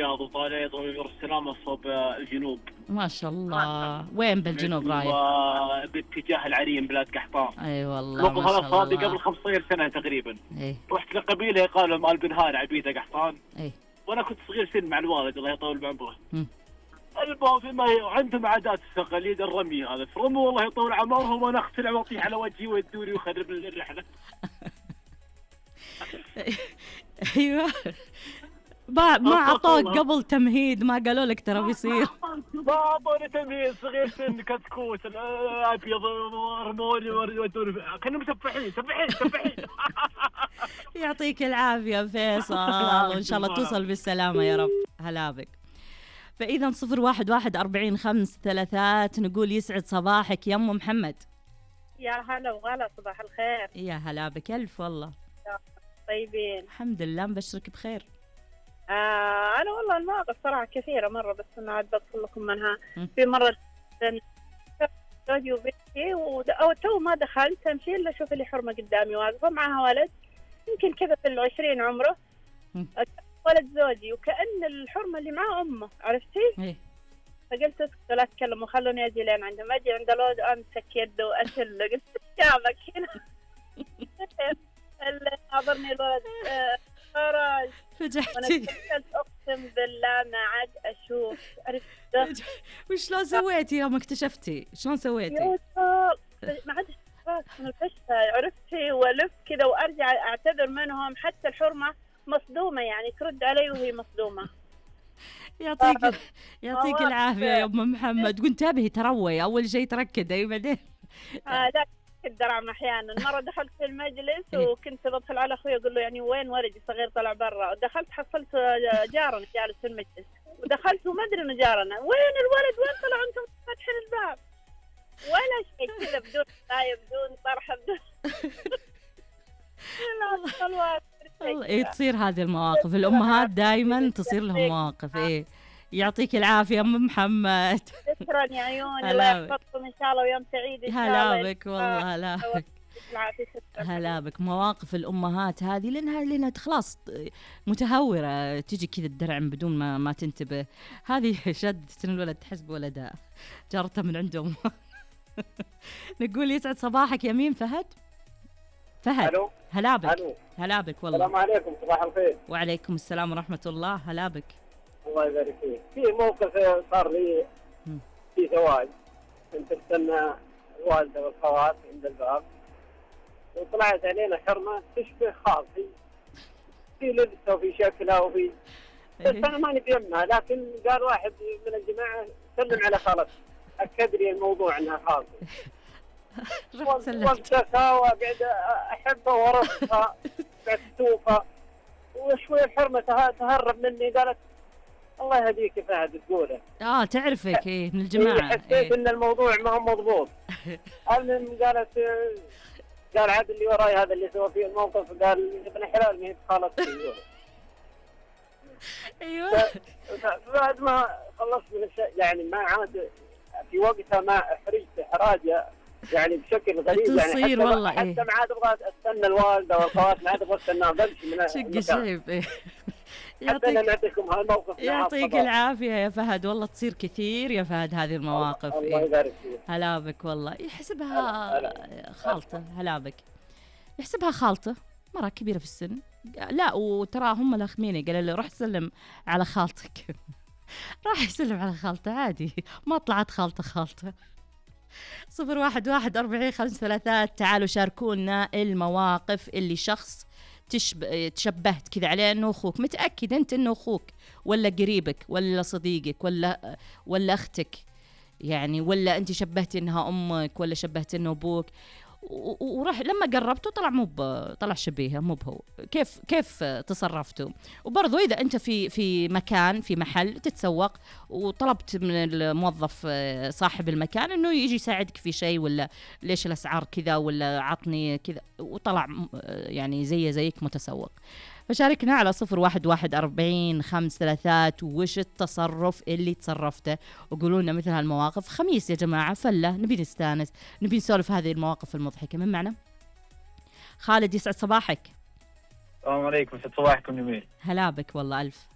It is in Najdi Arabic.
الرياض وطالع طريق السلامة صوب الجنوب. ما شاء الله. وين بالجنوب رايح؟ باتجاه العرين بلاد قحطان. اي والله ما شاء الله. صادق قبل 15 سنة تقريبا. اي. رحت لقبيلة قالوا مال بنهار عبيدة قحطان. اي. وانا كنت صغير سن مع الوالد الله يطول بعمره. المهم فيما عندهم عادات التقاليد الرمي، هذا فرموا والله يطول عمرهم وانا اختلع واطيح على وجهي ويدوري ويخرب الرحلة. ايوه. ما عطوك قبل تمهيد؟ ما قالوا لك ترى بيصير؟ ما عطوني تمهيد، صغير سن كتكوت ابيض رموني ودوني كانوا مسفحين. يعطيك العافيه فيصل، وان شاء الله توصل بالسلامه يا رب. هلا بك. فاذا 011-40-533 نقول يسعد صباحك يا ام محمد. يا هلا وغلا، صباح الخير. يا هلا بك الف والله. طيبين الحمد لله، مبشرك بخير. أنا والله المواقف صراحة كثيرة مرة، بس أنا عاد بدخل لكم منها. في مرة زوجي وبنتي تو ما دخلت أمشي إلا أشوف اللي حرمة قدامي واقفة معها ولد يمكن كذا في 20 عمره، ولد زوجي، وكأن الحرمة اللي معاه أمه، عرفتي؟ فقلت اسكت لا تتكلموا خلوني أجي لين عندهم. أجي عند الولد أمسك يده وأشله، قلت شامك هنا. حضرني الولد فرج فجحتي. اقسم بالله ما عاد اشوف. عرفت وشلون سويتي يوم اكتشفتي؟ شلون سويتي؟ ما عاد اشوف من الفشة، عرفتي؟ والف كذا وارجع اعتذر منهم، حتى الحرمه مصدومه يعني ترد علي وهي مصدومه. يعطيك العافيه يا ام محمد. وانتبهي تروي اول شيء تركدي بعدين. لا الدرعم احيانا. مره دخلت في المجلس وكنت بدخل على اخوي اقول له يعني وين ولدي الصغير طلع برا، دخلت حصلت جارنا جالس في المجلس، ودخلت وما ادري انه جارنا، وين الولد وين طلع انتم فاتحين الباب؟ ولا شيء كذا، بدون طايب بدون طرحه بدون والله تصير هذه المواقف. الامهات دائما تصير لهم مواقف. يعطيك العافية أم محمد. شكرا يا عيوني، الله يحفظكم إن شاء الله ويوم سعيد إن شاء الله. هلا بك والله. هلا بك. مواقف الأمهات هذه لأنها خلاص متهورة، تيجي كذا الدرعم بدون ما تنتبه. هذه شدت الولد تحسب ولدها جارتها من عندهم. نقول يسعد صباحك يا مين؟ فهد. ألو. هلا بك. هلا بك والله. السلام عليكم. صباح الخير. وعليكم السلام ورحمة الله. هلا بك. الله يبارك فيك. في موقف صار لي في زواج، كنت استنى الوالده والخوات عند الباب، وطلعت علينا حرمه تشبه خالتي في لبسها وفي شكلها وفي بس انا ماني بيمها، لكن قال واحد من الجماعه سلم على خالتي، اكد لي الموضوع انها خالتي. وقتها وقعد احبها ورفقها بعد تشوفها، وشوي الحرمه تهرب مني، قالت الله يهديك يا فهد تقوله. تعرفك من الجماعه. حسيت ان الموضوع ما هو مضبوط. المهم قال عاد اللي وراي هذا اللي سوى فيه الموقف، قال ابن حلال ما هي خالتي. ايوه. بعد ما خلصت من الشيء يعني ما عاد في وقتها، ما احرجت احراجه يعني بشكل غريب يعني. تصير والله حتى ما عاد ابغى استنى الوالده والخوات، ما عاد ابغى استناهم، بمشي من شق يعطيك العافية يا فهد. والله تصير كثير يا فهد هذه المواقف. الله يبارك فيك. هلا بك والله. يحسبها خالته. هلا بك. يحسبها خالته مرة كبيرة في السن. لا وترى هم لاخميني، قال لي روح سلم على خالتك. راح يسلم على خالته عادي، ما طلعت خالته. 011-40-533. تعالوا شاركونا المواقف اللي شخص تشبهت كذا عليه انه اخوك. متاكد انت انه اخوك ولا قريبك ولا صديقك ولا اختك يعني، ولا انت شبهتي انها امك ولا شبهتي انه ابوك، وراح لما قربته طلع شبيهه مو بهو. كيف تصرفتوا؟ وبرضو اذا انت في مكان في محل تتسوق وطلبت من الموظف صاحب المكان انه يجي يساعدك في شيء، ولا ليش الاسعار كذا، ولا عطني كذا، وطلع يعني زيك متسوق. فشاركنا على 011-40-533 وش التصرف اللي تصرفته، وقولوا لنا مثل هالمواقف. خميس يا جماعة فلة، نبي نستانس، نبي نسولف هذه المواقف المضحكة. من معنا؟ خالد يسعد صباحك. السلام عليكم. يسعد صباحكم جميل. هلا بك والله ألف.